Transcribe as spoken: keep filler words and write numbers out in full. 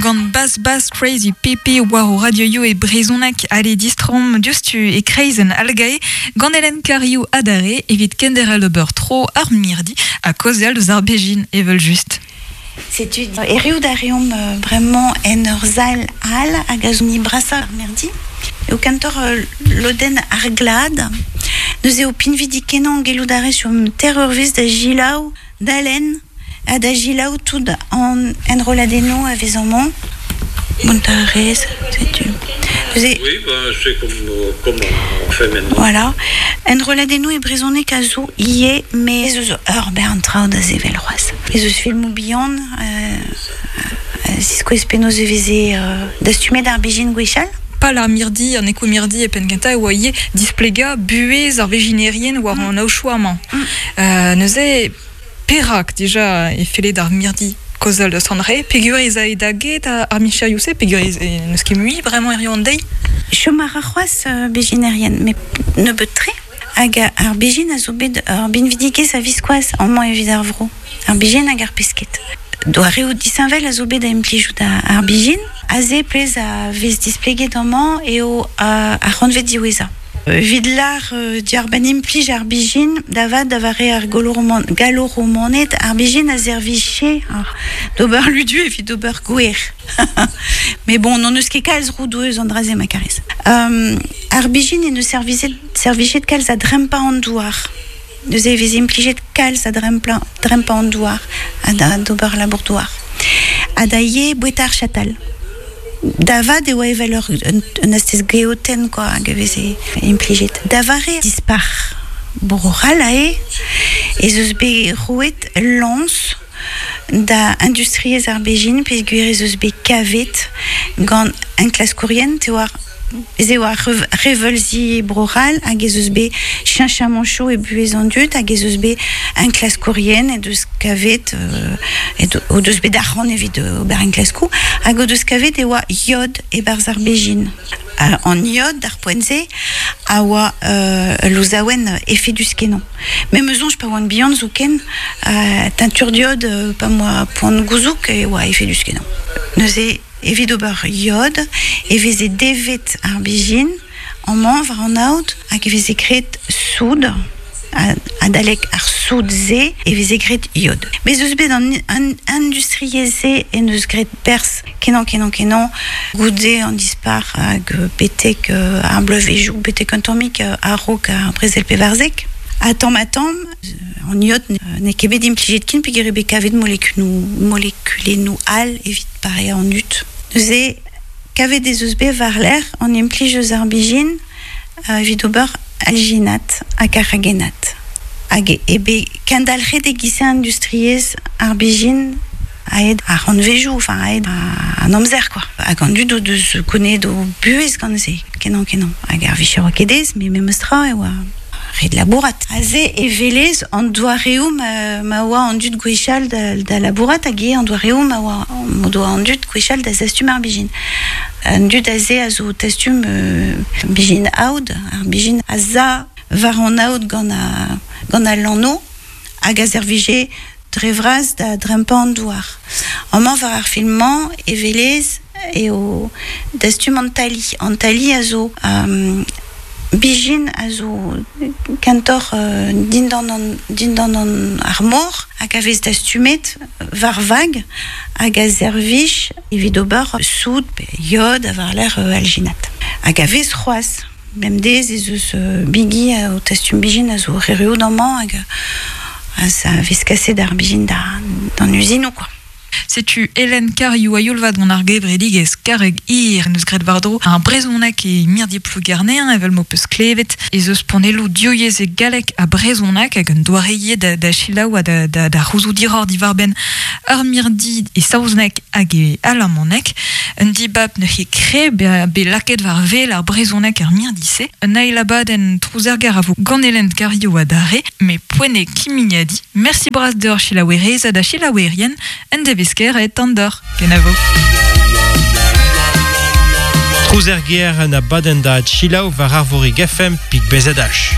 gant Bas Bas Crazy Pepe war o radio e brezonak ale distrom diouzhtu e kreizenn algae gant Hélène Cariou adare evit kenderel ober tro ar mirdi a kaozeal deus ar bejin evel just. Setu erioù da reomp bremañ en ur zal al hag a zo ni brasa ar mirdi. Eo kantor loden ar glad. Neuze eo pinvidik kenañ gellout a rez sur terrorvez da gilaou, d'alen, ha da gilaou tout an enroladennoù a vez amañ. Montarez, setu. Neuze... Oui, ben, c'est comme, comme on fait maintenant. Voilà. Enroladennoù e brezhoneg a zo ie, mais ez eus ur bern traoù da sevel c'hoazh. Ez eus filmoù bihan, euh, ziskouez penaos e veze euh, dastumet ar bejin gwechall. Pal ar mirdi, an eko mirdi e penn kentañ e oa ivez displegañ buhez ar vejinerien war an aochoù amañ. Mm. Euh, neuze perak dija e felle d'ar mirdi kaozeal deus an re, peogwir ez ae da get ar micherioù-se, peogwir ez n'eus ket mui bremañ hiziv an deiz. Chom a ra c'hoazh euh, bejinerien, met nebeut-tre. Hag ar bejin a zo bet ur binvidigezh a viskoazh amañ evit ar vro. Ar bejin hag ar pesked. Doareoù disheñvel a zo bet da implijout ar bejin. Aze plez a vez displeget amañ eo ar c'hantved diwezhañ. Evit lar euh, diarbenn implij ar bijin, da vat da vare ar gallo-romaned, ar bijin a serviche d'ober ludu evit d'ober gwer. Mais bon, n'on eus ket kalz roudoù eus an dra-se ma karez. Um, ar bijin e neus servizet, servichet kalz a drempañ an douar. Neuze e vez implijet kalz a drempañ, drempañ an douar, ha da d'ober labour douar. Ha da ivez boueta ar chatal. Da vat e oa evel ur un, un astez geotenn quoi, hag e veze implijet. Da vare dispar bro-C'hall ae, ez eus bet roet lañs da industriezh ar bejin peogwir ez eus bet kavet gant enklaskourien te oar ez eo ar reveulzi Bro-C'hall hag ez eus bet cheñchamanchoù e buhez an dud hag ez eus bet enklaskourien e deus kavet euh, e o deus bet arc'hant evit ober enklaskoù hag o deus kavet e oa iod e-barzh ar bejin. Uh, an iod d'ar poent-se a oa euh, louzaouen efedus kenañ. Me 'm eus soñj pa oan bihan zoken euh, teinture d'iod euh, pa 'm boa poan gouzoug e oa efedus kenañ. Neuze evit ober iod e veze devet ar bijin amañ war an aod hag e veze graet soud adalek ar soud-se e veze graet iod. Mes eus bet an, an industriezh-se en eus graet perzh kenañ kenañ kenañ goude an dispar hag betek ar bloavezhioù betek un tammig a-raok ar brezel pevarzek. Ha tamm ha tamm, an iod n'eo ket bet implijet ken peogwir eo bet kavet molekulennoù molekulennoù all evit pareañ an dud. Neuze kavet ez eus bet war-lerc'h an implij eus ar bijin evit ober alginat hag carragénat. Hag e bet kendalc'het e-giz industriezh ar bijin aet ar c'hantvejoù, enfin aet an amzer quoi. Hag an dud o deus gounezet o buhez gant se, kenañ kenañ. Hag ar vicher oa ket aes, met memestra e oa ret labourat. Aze e velez an doareoù ma, ma oa an dud gwechall da, da labourat hag eo an doareoù ma oa ma doa an dud gwechall da zastum ar bijin. An dud aze a zo tastum euh, bijin aod, ar bijin a za war an aod gant a, gant al lanno hag a servije dre vras da drempañ an douar. Amañ war ar film-mañ e velez eo dastum an tali. An tali a zo um, bijin a zo kentoc'h euh, dindan an, dindan an ar mor hag a vez dastumet war vag hag a servij evit ober soud pe iod a war-lerc'h euh, alginat. Hag a vez c'hoazh. Bemdez ez eus euh, bigi o tastum bijin a zo erruout amañ hag a sa vez kaset ar bijin da, d'an uzinoù quoi. Setu Hélène Cariou a youl-vat gant ar gevredigezh Karreg Hir neus graet war-dro ar brezhoneg e mirdi Plouguerneañ evel m'ho peus klevet ez eus panelloù divyezhek e galleg ha brezhoneg hag un doare da, da selaou ha da, da, da c'houzout diroc'h diwar-benn ar mirdi e saozneg hag e alamaneg. Un dibab neuze kre be, be lakaet war wel ar brezhoneg ar mirdi-se. Un eil abadenn Trouzergar a vo gant Hélène Cariou adarre, met poent eo kimiadiñ. Mersi bras deoc'h selaouerez ha da selaouerien, un devezh et andor. Kenavo. Trouzerger an abadenn da selaou war Arvorig F M pik B Z H.